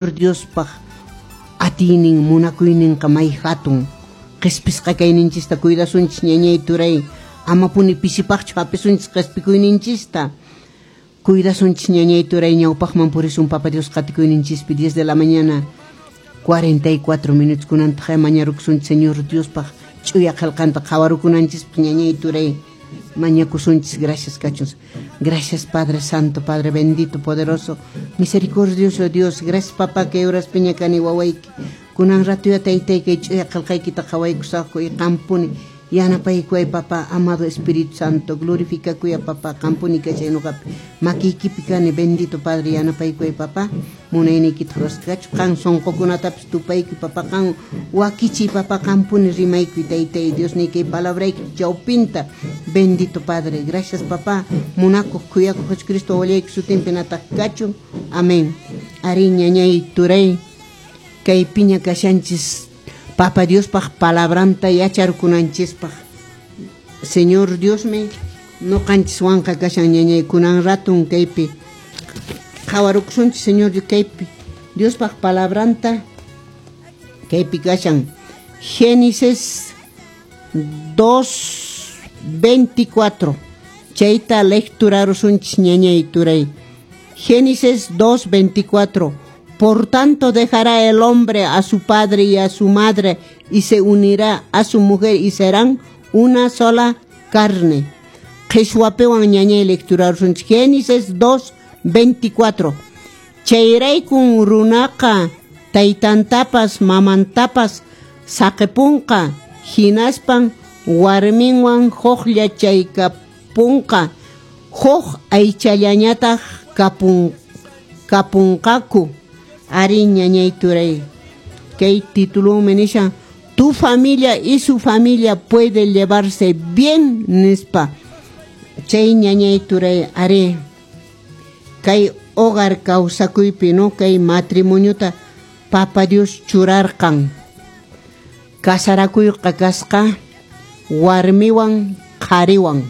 Diospaq atiynin munakuyninqa may hatun. Qhispisqa kayninchista cuidasunchis, ñañay, turay, amapuni pisipaqchu hapisunchis qhispikuyninchista. Cuidasunchis, ñañay, turay, ñawpaqman purisun Papa Dios qatikuyninchispi. 10 de la mañana 44 minutos. Kunantaq mañarukusunchis Señor Diospaq ch'uya qillqanta qhawarukunanchispaq, ñañay, turay, mañakusunchis. Gracias kachun. Gracias, Padre Santo, Padre bendito, poderoso, misericordioso Dios. Gracias, papá, kay horaspiña kani wawayki. Kunan ratuya, taytay, kay ch'uya qillqaykita qhawaykusaqku y qampuni yanapaykuway, papá. Amado Espíritu Santo, glorificakuya, papá. Qampuni kachay nuqapi, makiykipi kani. Bendito Padre, yanapaykuway, papá. Munayniykita rurasqa kachu. Qan sunqukunatapis tupaykuy, papá. Qan wakichiy, papá. Qampuni rimaykuy, taytay Dios kay palabrayki chawpinta. Bendito Padre, gracias, papá. Munakuq khuyakuq Jesucristo wawallayki sutinpi nataq kachun. Amén. Ari, ñañay, turay, kaypiña kashanchis Papa Diospaq palabranta yacharkunanchispaq. Señor Diosmi nuqanchiswanqa kashan, ñañay. Kunan ratun kaypi qhawarukusunchis Señor kaypi Diospaq palabranta. Kaypi kashan Génesis 2.24. Chayta lecturarusunchis, ñañay, turay. Génesis 2.24. Por tanto dejará el hombre a su padre y a su madre y se unirá a su mujer y serán una sola carne. Qhishwapiwan, ñañay, lecturarusunchis Génesis 2.24. Chayraykun runaqa taytantapas mamantapas saqipunqa, hinaspan warminwan hukllachaykapunqa, huk aychallañataq kapunqaku. Ari, ñañay, turay, kay titulunmi nishan "Tu familia y su familia puede llevarse bien" nispa. Chay, ñañay, turay, ari, kay hogar kawsakuypi, no, kay matrimoniota Papa Dios churarqan. Kasarakuyqa kasqa warmiwan qhariwan,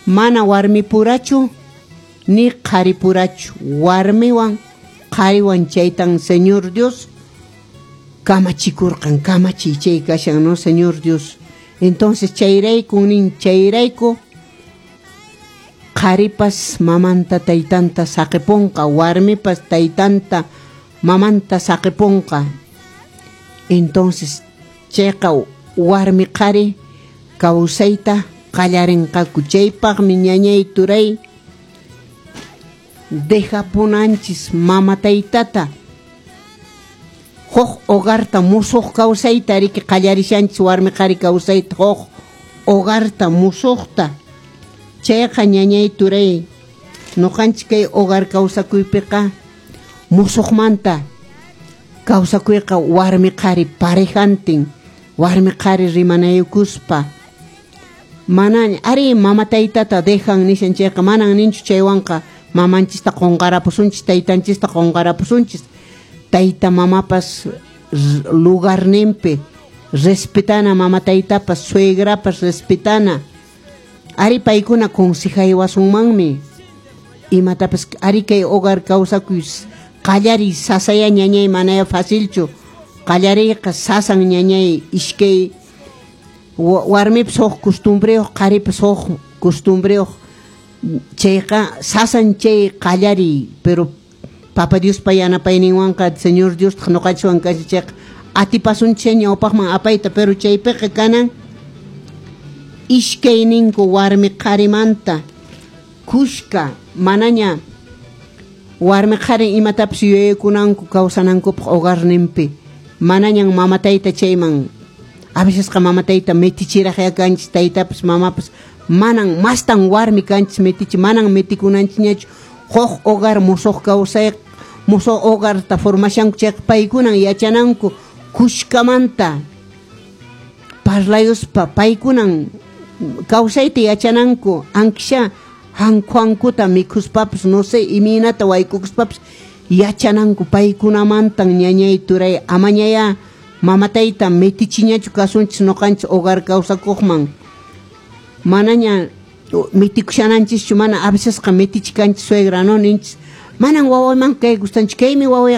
mana warmipurachu ni qharipurachu, warmiwan qhariwan. Chaytan Señor Dios kamachikurqan. Kamachiy chay kashan, no, Señor Dios. Entonces chayrayku nin, chayrayku qharipas mamanta taytanta saqipunqa, warmipas taytanta mamanta saqipunqa. Entonces chayqa warmi qhari kawsayta qallarinqaku. Chaypaqmi, ñañay, turay, dejapunanchis mama taytata, huk hogarta, musuq kawsayta riki qallarishanchis, warmi qhari kawsayta, huk hogarta musuqta. Chayqa, ñañay, turay, nuqanchik kay hogar kawsakuypiqa musuqmanta kawsakuyqa warmi qhari parejantin, warmi qhari rimanayukuspa. Mana ari mama taytata dejan nishan chayqa, manan ninchu chaywanqa mamanchista qunqarapusunchis, taytanchista qunqarapusunchis. Tayta mamapas lugarninpi respetana, mama taytapas, suegrapas respetana. Ari, paykuna consejaywasunmanmi imatapas. Ari, kay hogar kawsakuy qallariy sasaya, ñañay, manaya facilchu qallariyqa, sasan, ñañay. Iskay warmipas huk costumbreyuq, qharipas huk costumbreyuq, chayqa sasan chay qallariy. Pero Papa Diospa yanapayninwanqa, Señor Dios nuqanchikwan kashan chayqa, atipasunchik ñawpaqman apayta. Pero chaypiqa kanan iskayninku warmi qharimanta kushka, manaña warmi qhari imatapas yuyaykunanku kawsanankupaq hogarninpi, manañan mama tayta chayman. A vecesqa mama tayta metichiraqya kanchis, taytapas mamapas. Manan, mastan warmi kanchis metichi. Manan metikunanchikñachu. Huk hogar musuq kawsay, musuq hogarta formashanku chayqa, paykunan yachananku kushkamanta parlayuspa, paykunan kawsayta yachananku. Ankisha hankhuankuta mikhuspapas, no sé, imaynata waykukuspapas yachananku paykunamantan, ñañay, turay. Amañaya mama tayta metichiñachu kasunchis nuqanchis hogar kawsakuqman. Manaña mitikushananchikchu. Mana, a vecesqa metichikanchis suegra, no, ninchis Manan wawayman kay gustanchu, kaymi waway.